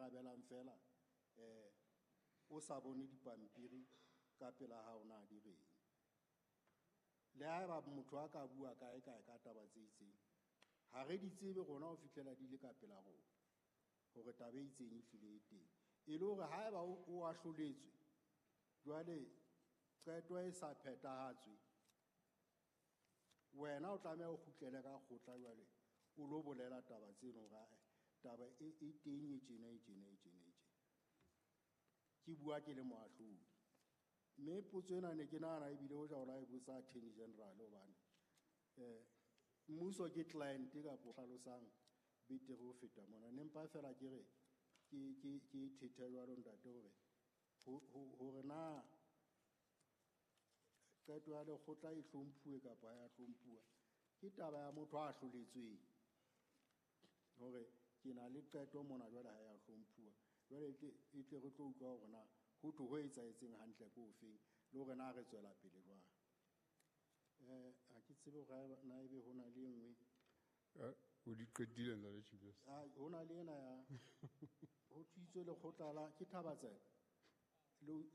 ikarabelang fela o sa bone dipampiri ka pela hao na di reng. Le haeba motho a ka bua kae kae ka taba tse itseng, ha re di tsebe rona ho fihlela di le ka pela rona hore taba e itseng e hlile e teng. E le hore haeba o ahloletswe, jwale qeto e sa phethahatswe, wena o tlameha o kgutlele ka kgotla jwale o lo bolela taba tseno hore ae, taba e teng e tjena, e tjena, e tjena, e tjena. Ke bua ke le moahlodi. Mme potso ena ne ke nahana ebile hoja o la e botsa Attorney General hobane, mmuso ke client kapo hlalosang betere ho feta mona. Ne mpa fela ke re, ke thethe jwalo ntate hore, hore na qeto ya lekgotla e hlomphuwe kapa ha ya hlomphuwa, ke taba ya motho a hloletsweng. Hore ke na le qeto mona jwale ha ya hlomphuwa. Jwale e tle re tlo utlwa hore na ho thwe ho etsahetseng hantle ke ofeng, le hore na re tswela pele jwang. Ha ke tsebe hore na ebe ho na le e nngwe. O di qetile, Ntate Chief Justice? Ah, ho na le ena ya, ho thuitswe lekgotla la, ke Thabatsela,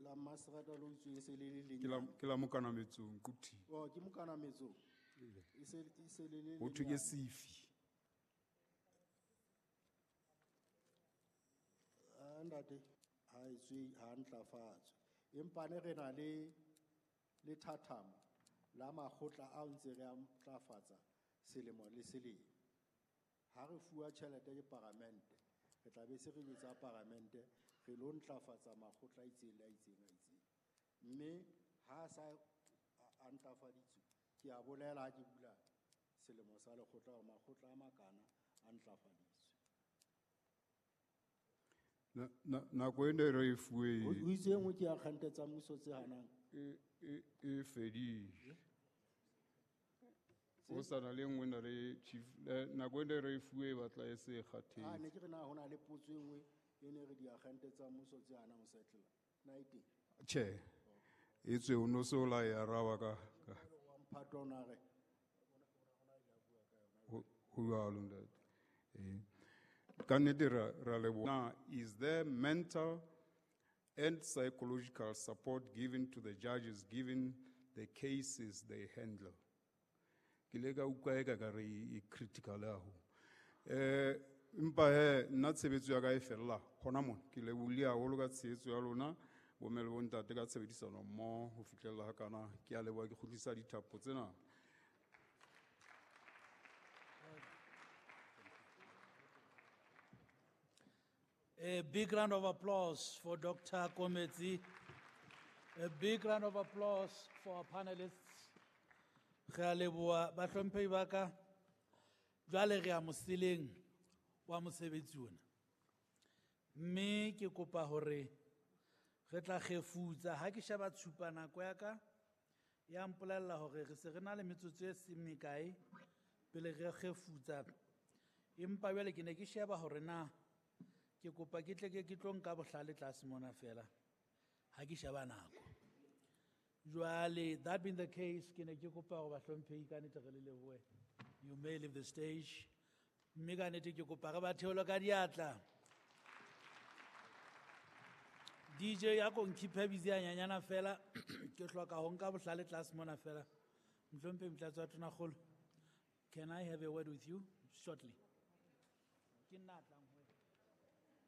la Maserata lo utsweng se le le leng. Ke la Mokanametsong, Quthi. Oh, ke Mokanametsong. E se le le Ho thwe ke lenyane. Sefi. Ah, ntate, ha e tswe, ha ntlafatswe. Empa ne re na le lethathamo la makgotla ao ntse re a ntlafatsa selemo le selemo. Ha re fuwa tjhelete ke paramente, re tla be se re jwetsa paramente, re lo ntlafatsa makgotla a itseng le a itseng a itseng. Mme ha sa a ntlafaditswe, ke a bolela ha ke bula selemo sa lekgotla hore makgotla a makana a ntlafaditswe. Nako e ne re e fuwe Ho itse e nngwe ke ya kgante tsa mmuso tse hanang. E fedile. Ho sa na le nngwe na le chief, nako e ne re e fuwe e batla e se e kgathetse. Ah, ne ke re na ho na le potso e nngwe e ne re diagente tsa mmuso tse hanang ho settle. Na e teng? Tjhe. E tswe o no se o la e araba ka. Wa mphato o na re. Ho jwalo, ntate. Ka nnete ra leboha. Now, is there mental and psychological support given to the judges given the cases they handle? Ke le ka utlwa eka ka re e critical haholo. Empa he, nna tshebetso ya ka e fella hona mona. Ke lebohile haholo ka tshehetso ya lona, bomme le bontate ka tshebedisano mmoho ho fihlella hakana. Ke a leboha, ke kgutlisa dithapo tsena. A big round of applause for Dr. Kometsi. A big round of applause for our panelists. Re a leboha, bahlomphehi ba ka, jwale re a moseleng wa mosebetsi ona. Mme ke kopa hore re tla kgefutsa. Ha ke sheba tshupa nako ya ka, ya mpolella hore re se re na le metsotso e seng mekae pele re kgefutsa. Empa jwale ke ne ke sheba hore na ke kopa ke tle ke tlo nka bohlale tlase mona fela ha ke sheba nako. Jwale, that being the case, ke ne ke kopa hore bahlomphehi ka nnete re le lebohe. You may leave the stage. Mme ka nnete ke kopa re ba theole ka diatla. DJ ya ko nkhiphe busy a nyanyana fela, ke hloka ho nka bohlale tlase mona fela. Mohlomphehi Motlatsi wa Tonakgolo, can I have a word with you shortly? Ke nna a tlang.